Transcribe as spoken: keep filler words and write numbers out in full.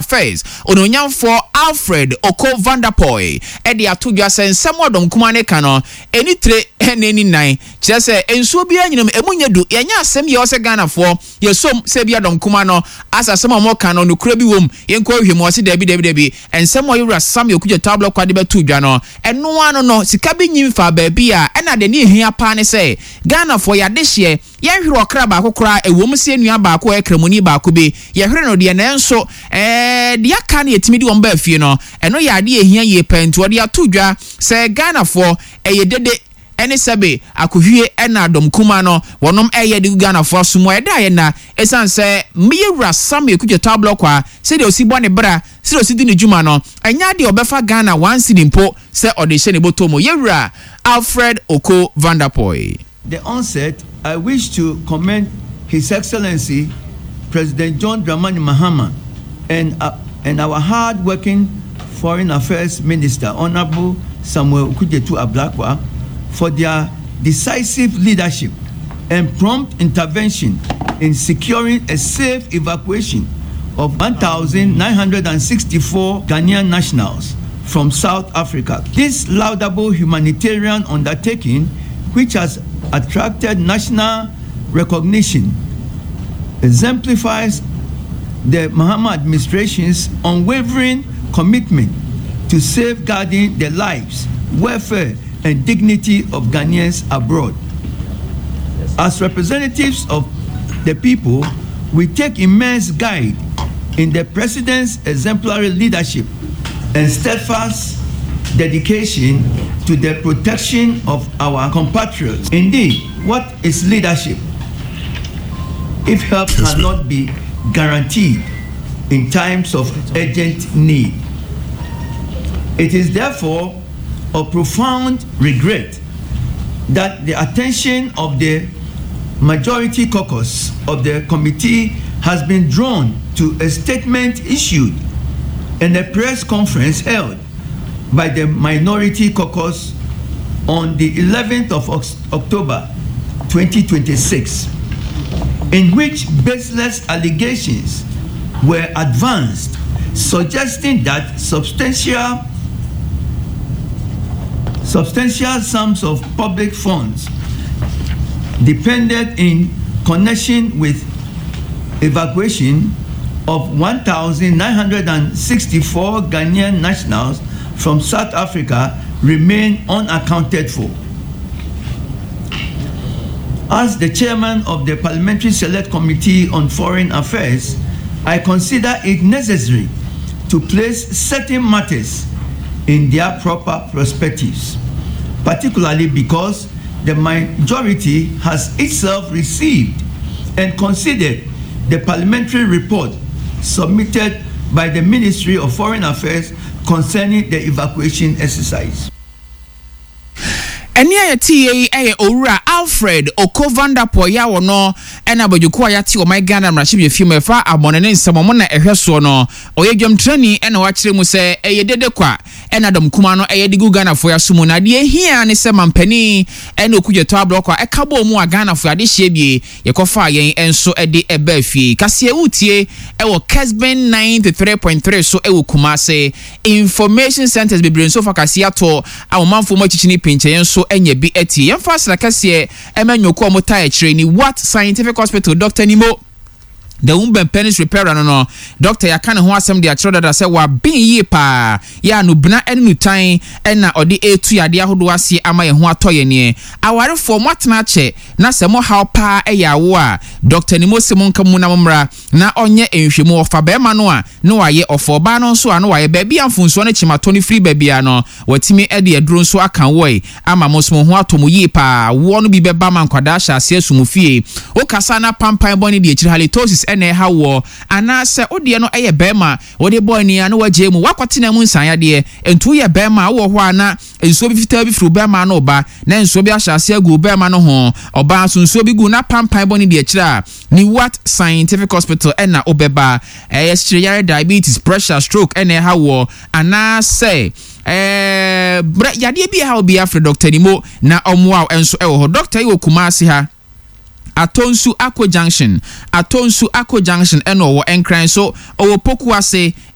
Affairs, Onuonyamfoɔ Alfred Oko Vanderpuije, ɛde ato dwa sɛ nsɛm a ɔdɔm kumaa no ka no, ɛni tire na ɛni nan, kyerɛ sɛ nsuo biara nyina mu, ɛmu nyɛ du. Yɛnyɛ asɛm yɛ ɔsɛ Ghanafoɔ yɛsom sɛ bi adɔm kumaa no asa asɛm a wɔka no nokorɛ bi wom, yɛnkɔ hwɛ mu. Ɔse daabi, daabi, daabi, nsɛm a ɔyɛwura Samuel Okudzeto Ablakwa de bɛto dwa no, ɛno ano no sika bi nyi mfa baabi a ɛna de ne ehia paa ne sɛ Ghanafoɔ yɛadehyeɛ yɛnhwere ɔkra baako koraa. Ɛwɔ mu sɛ nua baako a ɛyɛ kramoni baako bi yɛhwere no deɛ, nanso ɛɛ deɛ aka no yɛtumi de wɔn baa fie no, ɛno yɛ adeɛ ehia yie pɛn. Nti wɔde ato dwa sɛ Ghanafoɔ, ɛyɛ dede ɛne sɛbe akohwie ɛna dɔm kuma no wɔnom ɛyɛ de gu Ghanafoɔ aso mu a ɛda yɛ na ɛsiane sɛ mmeyɛwura Samuel Okudzeto Ablakwa, sɛdeɛ osi bɔ ne bra, sɛdeɛ osi di ne dwuma no, ɛnyɛ adeɛ ɔbɛfa Ghana one cedi mpo sɛ ɔde hyɛ ne bɔtɔ mu. Yɛwura Alfred Oko Vanderpuije. The onset, I wish to commend His Excellency President John Dramani Mahama and, uh, and our hard-working Foreign Affairs Minister, Honorable Samuel Okudzeto Ablakwa, for their decisive leadership and prompt intervention in securing a safe evacuation of one thousand nine hundred sixty-four Ghanaian nationals from South Africa. This laudable humanitarian undertaking, which has attracted national recognition, exemplifies the Mahama administration's unwavering commitment to safeguarding the lives, welfare, and dignity of Ghanaians abroad. As representatives of the people, we take immense guide in the president's exemplary leadership and steadfast dedication to the protection of our compatriots. Indeed, what is leadership if help cannot be guaranteed in times of urgent need? It is therefore of profound regret that the attention of the majority caucus of the committee has been drawn to a statement issued in a press conference held by the minority caucus on the eleventh of October twenty twenty-six, in which baseless allegations were advanced suggesting that substantial substantial sums of public funds depended in connection with evacuation of one thousand nine hundred sixty-four Ghanaian nationals from South Africa remain unaccounted for. As the chairman of the Parliamentary Select Committee on Foreign Affairs, I consider it necessary to place certain matters in their proper perspectives, particularly because the majority has itself received and considered the parliamentary report submitted by the Ministry of Foreign Affairs concerning the evacuation exercise. Ɛne a yɛte yie yi yɛ Owura Alfred Oko Vanderpuije a wɔno ɛna abadwoko a yɛate ɔman Ghana mmarahyɛbadwa fie mu ɛfa abɔne ne nsɛm ɔmo na ɛhwɛ soɔ no, ɔyɛ dwamtrani, ɛna wakyerɛ mu sɛ ɛyɛ dede kwa ɛna dɔm kuma no ɛyɛ de gu Ghanafoɔ aso mu, na adeɛ hia ne sɛ mampanin ɛne Okudzeto Ablakwa ɛka bɔɔ mu a Ghanafoɔ adehyɛ bie yɛkɔfaa yɛn nso ɛde ɛbaa fie. Kaseɛ wotie ɛwɔ Kesben ninety-three point three so ɛwɔ Kumase. Information centers bebree nso fa kaseɛ ato a ɔmanfoɔ mu akyikyini pinkyɛn nso anya bi atie. Yɛmfa asra kɛseɛ ɛma nnwoko a wɔtaa akyire ni What Scientific Hospital, Doctor Nimo the womb penis repairer no no doctor yɛaka ne ho asɛm de akyerɛ dada sɛ waben yie paa yɛ a nobena ne nutan ɛna ɔde etu yadeɛ ahodoɔ aseɛ ama yɛn ho atɔ yɛn. Neɛ awarefoɔ mo atena akyɛ na sɛ mo haw paa ɛyɛ awo a, Doctor Nimo se mo nka mu na mo mmra na ɔnyɛ nhwɛmu. Ɔfa bɛrima no a na wayɛ, ɔfa ɔbaa no nso a na wayɛ. Baabi a mfonsoɔ no kyimatɔ no firi baabi a no watumi de aduro nso aka wɔe ama mo nso mo ho atɔ mo yie paa. Woɔ no bi bɛba ma nkwadaa hyɛ aseɛ so mo fie. Wokasa na pampan bɔ ne deɛ akyiri halitosis ɛna ɛha woɔ, anaasɛ wodeɛ no ɛyɛ bɛrima wode bɔ ani a na wagye mu wakɔtena mu nsanyadeɛ. Nti woyɛ bɛrima a wowɔ hɔ a na nsuo bi fitaa bi firi bɛrima no ba na nsuo bi ahyɛ aseɛ agu bɛrima no ho, ɔbaa nso nsuo bi gu na pampan bɔ ne deɛ akyire a, ne What Scientific Hospital ɛna wobɛba. Ɛyɛ sikyerɛ, diabetes, pressure, stroke ɛna ɛha woɔ, anaasɛ ɛɛ brɛ yadeɛ bi ɛha wo bi, afrɛ Doctor Nimo na ɔmoa wo nso ɛwɔ hɔ. Doctor yi wɔ Kumase ha, Atonsu Ako Junction, Atonsu Ako Junction ɛna ɔwɔ. Nkran so ɔwɔ Poku Ase.